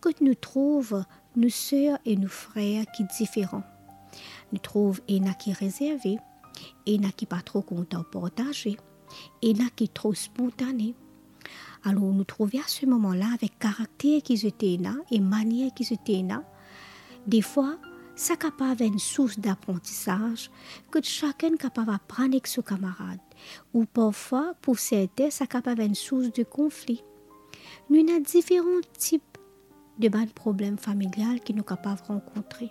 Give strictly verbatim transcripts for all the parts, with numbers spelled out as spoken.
kot nou trouv nou ser e nou frer ki diferan. Nou trouv ena ki rezerve, ena ki pa tro kontan partaze, ena ki tro spontane. Alor, nou trouve a se moman la avek karakter ki zot ena e manier ki zot ena. Defwa, sa kapav enn sours daprantisaz, kot sakenn kapav aprann ek so kamarad, ou parfwa, pou sertin, sa kapav enn sours de konfli. Nou ena diferan tip de bann problem familial ki nou kapav rankontre.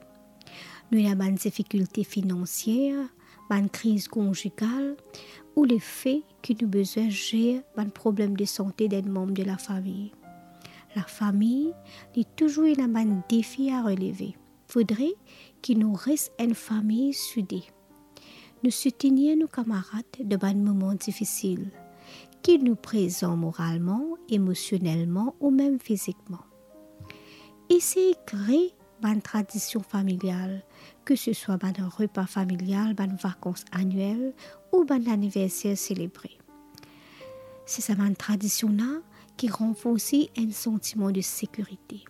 Nou ena bann difikilte finansier, bann kriz konjigal, ou lefe ki nou bizin zer bann problem de sante d'enn manm de lafami. Lafami, li touzour ena bann defi a releve. Fodre ki nou res enn fami soude. Nou soutenir nou kamarad dan bann moman difisil, ki nou prezan moralman, emosionelman ou mem fizikman. Esey kre bann tradision familial, ke se swa bann repa familial, bann vakans aniel ou bann aniverser selebre. Se sa bann tradision la ki ranforsi enn santiman de sekirite.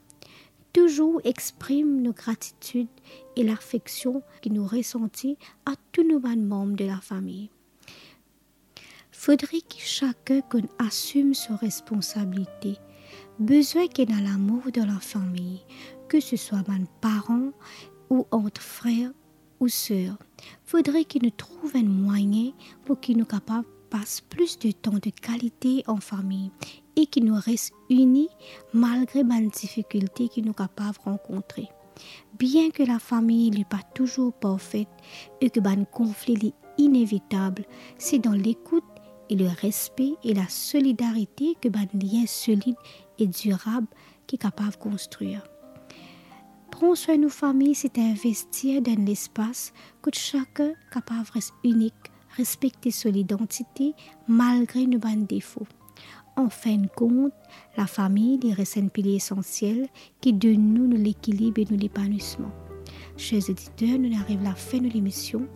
Touzour exprim nou gratitid e lafeksion ki nou resanti a tou nou bann manm de lafami. Fodre ki sakenn konn asim so responsabilite. Bizin ki ena lamour dan lafami, ke se swa bann paran ou ant frer ou ser. Fodre ki nou trouv enn mwayin pou ki nou kapav pas plis de tan de kalite an fami e ki nou res ini malgre bann difikilte ki nou kapav rankontre. Bien ke lafami li pa touzour parfet e ke bann konfli li inevitab, se dan lekout e le respe e lasolidarite ke bann lien solid e dirab ki kapav konstrir. Pran swin nou fami, se envestir dan lespas kot sakenn kapav res inik, respekte so lidantite malgre nou bann defo. Anfinn kont, lafami li res enn pilie esansiel ki donn nou nou lekilib e nou lepanwisman. Ser oditer, nou ariv lafin nou lemision.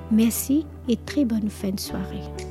Mersi e tre bonn fin de sware.